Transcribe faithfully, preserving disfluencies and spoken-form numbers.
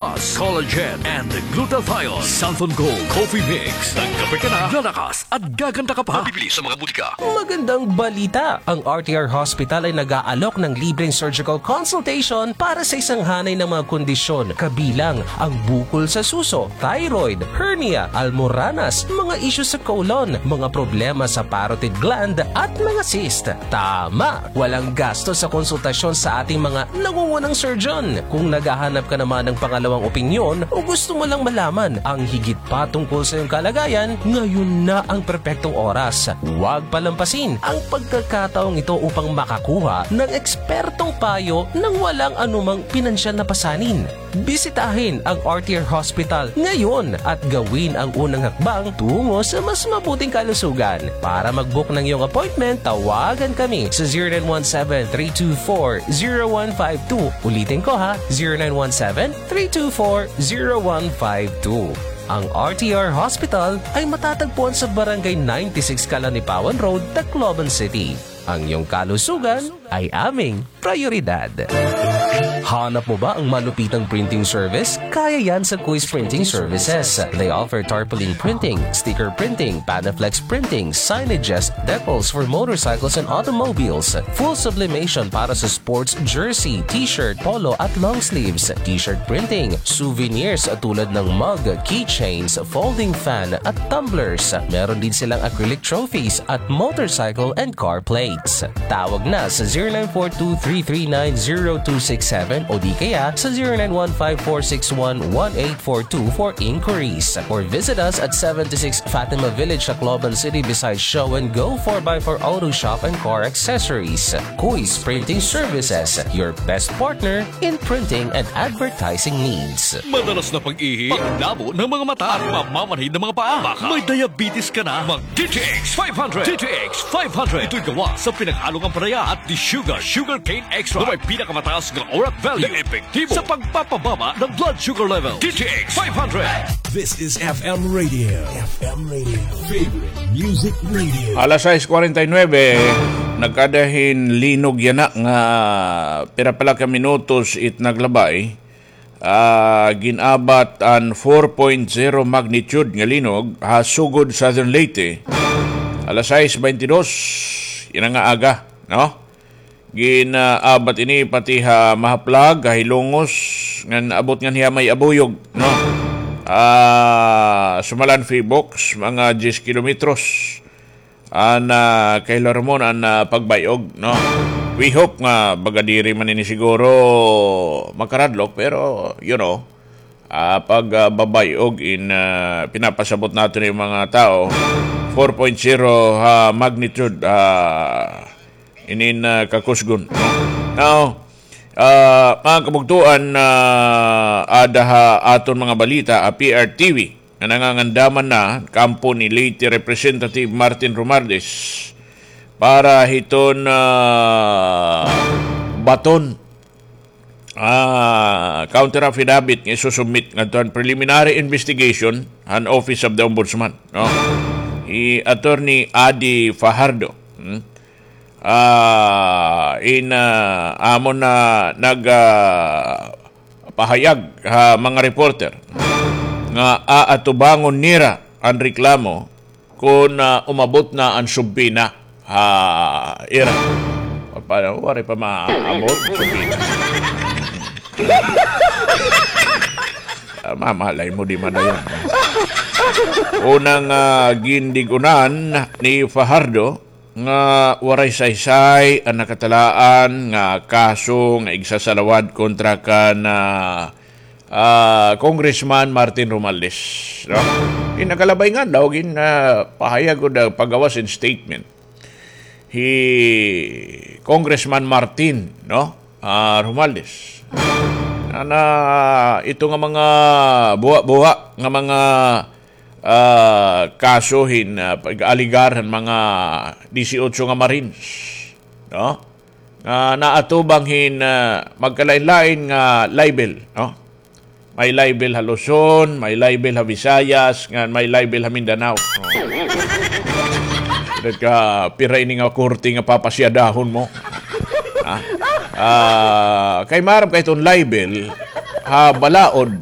Collagen and glutathione. Santhon Gold Coffee Mix. Nagkape ka na, lalakas at gaganda ka pa. Mabibili sa mga butika. Magandang balita! Ang R T R Hospital ay nag-aalok ng libreng surgical consultation para sa isang hanay ng mga kondisyon, kabilang ang bukol sa suso, thyroid, hernia, almoranas, mga issues sa colon, mga problema sa parotid gland, at mga cyst. Tama! Walang gasto sa konsultasyon sa ating mga nangungunang surgeon. Kung naghahanap ka naman ng pangalawang opinyon o gusto mo lang malaman ang higit pa tungkol sa iyong kalagayan, ngayon na ang perpektong oras. Huwag palampasin ang pagkakataong ito upang makakuha ng ekspertong payo nang walang anumang pinansyal na pasanin. Bisitahin ang R T R Hospital ngayon at gawin ang unang hakbang tungo sa mas mabuting kalusugan. Para mag-book ng iyong appointment, tawagan kami sa zero nine one seven, three two four, zero one five two. Ulitin ko ha, zero nine one seven, three two four, zero one five two. Ang R T R Hospital ay matatagpuan sa Barangay ninety-six Kalanipawan Road, Tacloban City. Ang iyong kalusugan ay aming prioridad. Hanap mo ba ang malupitang printing service? Kaya yan sa Kuis Printing Services. They offer tarpaulin printing, sticker printing, Panaflex printing, signages, decals for motorcycles and automobiles, full sublimation para sa sports jersey, t-shirt, polo at long sleeves, t-shirt printing, souvenirs tulad ng mug, keychains, folding fan at tumblers. Meron din silang acrylic trophies at motorcycle and car plates. Tawag na sa zero nine four two three three nine zero two six seven o di kaya sa zero nine one five four six one one eight four two for inquiries. Or visit us at seventy-six Fatima Village, Tacloban City, beside Show and Go four by four Auto Shop and Car Accessories. Kuis Printing Services, your best partner in printing and advertising needs. Madalas na pag-ihi, paglabo ng mga mata, at mamamanhid ng mga paa. Baka may diabetes ka na. Mag D T X five hundred. D T X five hundred. Ito'y gawa sa pinaghalong ampalaya at desugared sugarcane extract na may pinakamataas nga orat value na epektibo sa pagpapababa ng blood sugar level. D T X five hundred. This is F M Radio. F M Radio. Favorite Music Radio. Alas sais kwarenta y nuebe, nagkada hin linog yana nga pira pa la ka minutos it naglabay. Ah, gin-abat an four point zero magnitude nga linog ha Sogod, Southern Leyte. Alas sais baynte dos yana nga aga, no? Gin-abat ini pati ha Mahaplag, ha Hilongos, ngan abot ngan hiya may Abuyog, no? Ah, Sumalan, Phivolcs, mga diyes kilometros an, ah, kahilarom an, ah, pagbay-og, no? We hope nga baga diri man ini siguro makaradlok, pero, you know, ah, pag, ah, babay-og in, ah, pinapasabot naton it mga tawo, four point zero ha magnitude, ah, inin, ah, kakusgon, no? Now, ah, mga kabugtoan, ah, ada ha aton mga balita, ah, P R T V, nga nangangandaman na kampo ni Leyte Representative Martin Romualdez para hiton, ah, baton, ah, counter affidavit nga isusubmit ngadto han preliminary investigation han Office of the Ombudsman, no? Hi Attorney Adi Fajardo. Hmm? Ah, in, ah, amo na nag, ah, pahayag ha mga reporter nga aatubangon nira an reklamo kon, ah, umabot na an subpina ha ira. Pa-, waray pa maabot an subpina. Ah, mamalay mo, di madayon. Unang, ah, gindig-unan ni Fajardo, nga waray saysay an nakatalaan nga kaso nga igsasalawad kontra kan, ah, ah, Congressman Martin Romualdez, no? In nakalabay nga daw gin, ah, pahayag o da, pagawas in statement hi Congressman Martin, no? Ah, Romualdez. Na, na ito nga mga buwa-buwa nga mga ah, kaso hin, ah, pag-alegar han mga disiotso nga Marines, no? Nga naatubang hin, ah, magkalain-lain nga libel, no? May libel ha Luzon, may libel ha Visayas, ngan may libel ha Mindanao. Oh. Dapat ka, pira ini nga korte nga papasyadahon mo? Ha? Ah, kay maaram ka iton libel, ha balaod,